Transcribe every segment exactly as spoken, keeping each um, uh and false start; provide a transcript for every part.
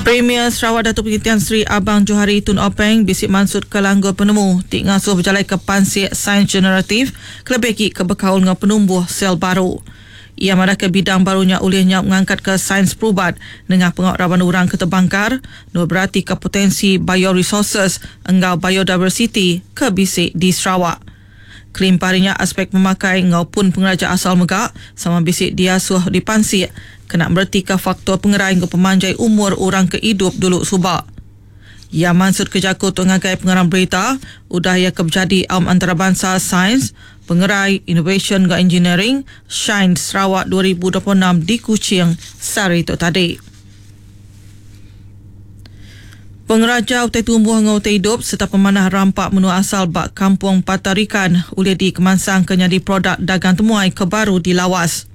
Premier Sarawak Datuk Patinggi Tan Sri Abang Johari Tun Openg bisi mansut ke langgur penemu ti ngasuh bejalai ke pansik sains generatif kelebih agi ke bekaul enggau penumbuh sel baru. Ia madah ke bidang barunya ulihnya mengangkat ke sains perubat dengan pengawal raban orang ke terbangkar nur berarti ke potensi bioresources enggau biodiversity ke bisi di Sarawak. Kelimparinya aspek pemakai ngau pun pengeraja asal mega sama bisi diasuh dipansik kena merti ke faktor pengerai ngau pemanjai umur orang ke hidup dulu subak. Ia mansut kerja tu ngagai pengarang berita udah ia kebjadi Aum Antarabangsa Sains, Pengerai, Innovation dan Engineering Shine Sarawak dua ribu dua puluh enam di Kuching sehari itu tadi. Pengeraja utai tumbuh ngau utai hidup serta pemanah rampak menua asal bak Kampung Patarikan oleh di Kemansang ke nyadi produk dagang temuai ke baru dilawas.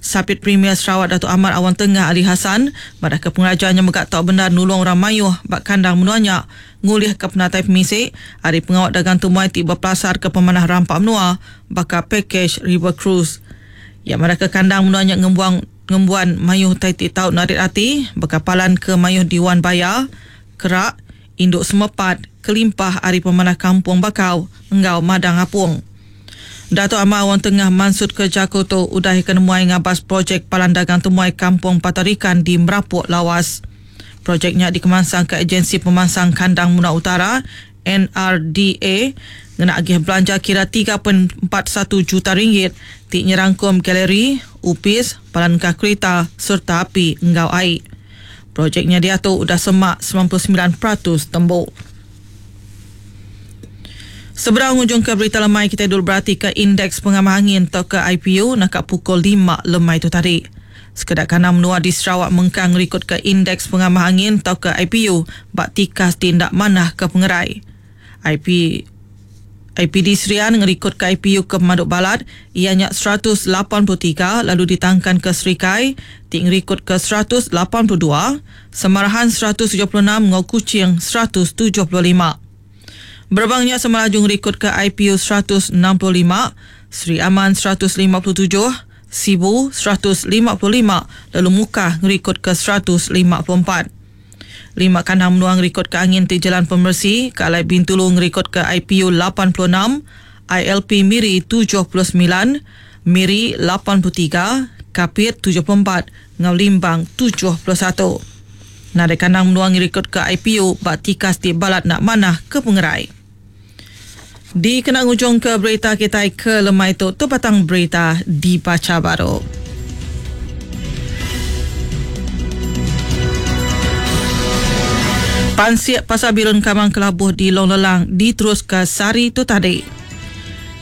Sapit Premier Sarawak Datuk Ahmad Awang Tengah Ali Hasan pada ke pengerajaannya megak tau benda nulung orang mayuh bak kandang menuanya ngulih ke penatai pemisik hari pengawal dagang temuai tiba pelasar ke pemanah rampak menua baka package River Cruise. Yang mereka kandang menuanya ngembuang ngembuan mayuh tai ti tau narit ati bekapalan ke mayuh Diwan Baya kerak induk semepat kelimpah hari pemanah kampung bakau enggau madang apung. Datuk Amar Awang Tengah mansut ke Jakoto udah ke nemuai ngabas projek Palan Dagang Temuai Kampung Patarikan di Merapuk Lawas. Projeknya dikemansang ke Agensi Pemansang Kandang Menua Utara N R D A ngena agih belanja kira tiga perpuluhan empat satu juta ringgit ti nyerangkum galeri, upis, palan kah kereta serta api enggau air. Projeknya diatu udah semak sembilan puluh sembilan peratus tembuk. Seberang ujung ke berita lemai kita dulu berarti ke indeks pengamah angin atau ke I P U nak pukul lima lemai itu tadi. Sekedak kanam menua di Sarawak mengkang ngerikut ke indeks pengamah angin atau ke I P U bak tikas tindak manah ke pengerai. I P, I P D Serian ngerikut ke I P U ke Pemaduk Balat ianya seratus lapan puluh tiga lalu ditangkan ke Serikai ti ngerikut ke seratus lapan puluh dua, Semarahan seratus tujuh puluh enam ngau Kuching seratus tujuh puluh lima. Berbangnya Semaraju ngerikut ke I P U seratus enam puluh lima, Sri Aman seratus lima puluh tujuh, Sibu seratus lima puluh lima, lalu Mukah ngerikut ke seratus lima puluh empat. Lima kandang menua ngerikut ke angin ti Jalan Pemersi, ke Alai Bintulu ngerikut ke I P U lapan puluh enam, I L P Miri tujuh puluh sembilan, Miri lapan puluh tiga, Kapit tujuh puluh empat, ngau Limbang tujuh puluh satu. Nadai kandang menua ngerikut ke I P U bak tikas ti balat nak manah ke pengerai. Di kena ngujung ke berita kita ke lemai tu, tu batang berita dibaca baru. Pansiak Pasar Birun Kamang Kelabuh di Long Lelang diterus ke sari tu tadi.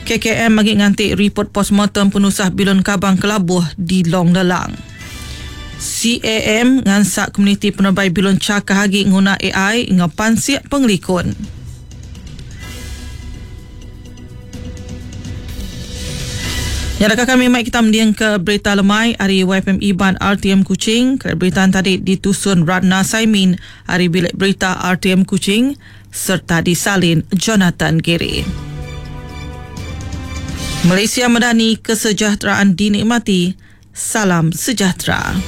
K K M bagi ngantik report postmortem penusah Bilun Kabang Kelabuh di Long Lelang. C A M ngansak komuniti penerbai Bilun Cakah Hagi nguna A I ngau pansiak pengelikun. Nyadakah kami mai kita mendiang ke berita lemai hari Y F M Iban R T M Kuching. Berita tadi ditusun Ratna Saimin hari bilik berita R T M Kuching serta disalin Jonathan Giri. Malaysia Madani, kesejahteraan dinikmati. Salam sejahtera.